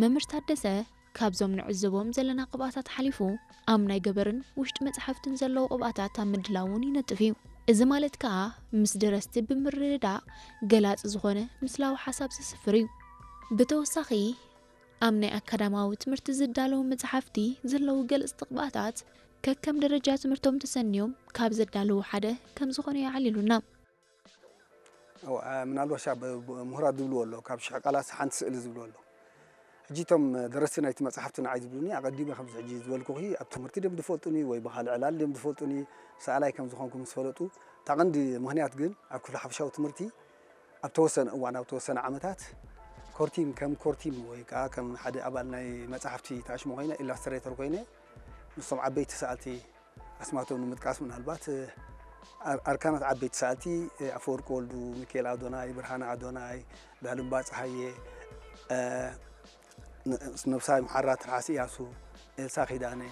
መምህር ታደሰ ካብዞም ንዕዘቦም ዘለና ቅብኣታት ሓሊፉ ኣብ ናይ ገበርን ውሽጢ መጽሓፍትን ዘለዉ ቅብኣታት ኣብ ምድላውን ይነጥፍ እዩ። እዚ ማለት ከኣ ምስ ደረስቲ ብምርድዳእ ገላጺ ዝኾነ ምስላዊ ሓሳብ ዘስፍር እዩ። ብተወሳኺ ኣብ ናይ ኣካዳማዊ ትምህርቲ ዝዳለዉ መጽሓፍቲ ዘለዉ ገለጽቲ ቅብኣታት ከከም ደረጃ ትምህርቶም ተሰንዮም ካብ ዘዳለዉ ሓደ ከም ዝኾነ የዕሊሉና። ምናልባሽ ምሁራት ዝብልዎ ኣሎ ካብ ሽሕ ቃላት ሓንቲ ስእሊ ዝብልዎ ኣሎ። ሕጂ እቶም ደረስቲ ናይቲ መፅሓፍቲ ንዓይ ዝብሉኒ ኣቐዲመ ከምዚ ሕጂ ዝበልኩኺ ኣብ ትምህርቲ ድም ዝፈልጡኒ ወይ ብካልእ ዕላል ድም ዝፈልጡኒ ሰኣላይ ከም ዝኾንኩ ምስ ፈለጡ እታ ቀንዲ ምክንያት ግን ኣብ ክፍሊ ሓፈሻዊ ትምህርቲ ኣብ ተወሰነ እዋን ኣብ ተወሰነ ዓመታት ኮርቲም ከም ኮርቲም ወይ ከዓ ከም ሓደ ኣባል ናይ መፅሓፍቲ ተኣሽሞ ኮይነ ኢላስትሬተር ኮይነ ምስቶም ዓበይቲ ሰኣልቲ ኣስማቶም ንምጥቃስ ምናልባት ኣርካናት ዓበይቲ ሰኣልቲ ኣፈወርቂ ወልዱ፣ ሚካኤል ኣዶናይ፣ ብርሃነ ኣዶናይ፣ ዳልምባ ፀሃየ፣ ነብሳይ መሓራ ትርሓስ እያሱ፣ ኤልሳ ኪዳነ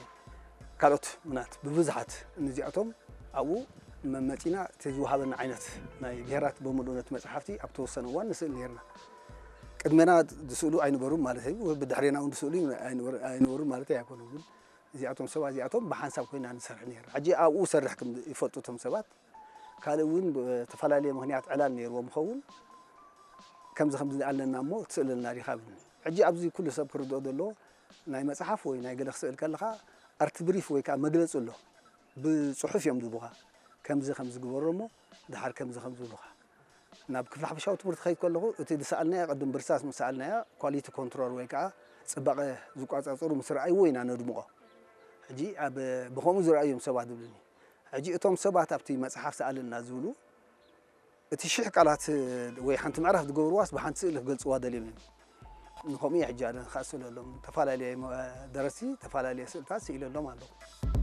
ካልኦት ምናት ብብዙሓት እዚኣቶም ኣብኡ መመፂና እቲ ዝወሃበና ዓይነት ናይ ብሄራት ብምሉእነት መፅሓፍቲ ኣብ ተወሰነ እዋን ንስእል ነርና። ቅድመና ዝስእሉ ኣይነበሩን ማለት እዩ። ብድሕሬና እውን ዝስእሉ ኣይነበሩን ማለት ኣይኮኑን። ግን እዚኣቶም ሰባት እዚኣቶም ብሓንሳብ ኮይና ንሰርሕ ነርና። ሕጂ ኣብኡ ሰርሕ ከም ይፈልጡ እቶም ሰባት ካልእ እውን ብተፈላለየ ምክንያት ዕላል ነይርዎም ይኸውን ከምዚ ከምዚ ኣለና እሞ ትስእለልና ዲኻ ብሉኒ። ሕጂ ኣብዚ ኩሉ ሰብ ክርድኦ ዘለዎ ናይ መፅሓፍ ወይ ናይ ገለ ክስእል ከለኻ ኣርት ብሪፍ ወይ ከዓ መግለፂ ኣሎ ብፅሑፍ እዮም ዝቡኻ ከምዚ ከምዚ ግበሮ እሞ ድሓር ከምዚ ከምዚ ብሉኻ ናብ ክፍሊ ሓፈሻዊ ትምህርቲ ከይድ ከለኹ እቲ ዝሰኣልናዮ ቅድም ብርሳስ ምስ ሰኣልናዮ ኳሊቲ ኮንትሮል ወይ ከዓ ፅባቐ ዝቋፃፀሩ ምስ ረኣይዎ ኢና ነድምቖ። ሕጂ ኣብ ብኸምኡ ዝረኣዮም ሰባት ዝብልኒ ሕጂ እቶም ሰባት ኣብቲ መፅሓፍ ሰኣልና ዝብሉ እቲ ሽሕ ቃላት ወይ ሓንቲ ምዕራፍ ዝገብርዋስ ብሓንቲ ስእሊ ክገልፅዋ ደልዮም እዮም። ንከምኡ እየ ሕጂ ኣነ ክኣስለሎም ተፈላለየ ደረስቲ ተፈላለየ ስእልታት ስኢለሎም ኣለኹ።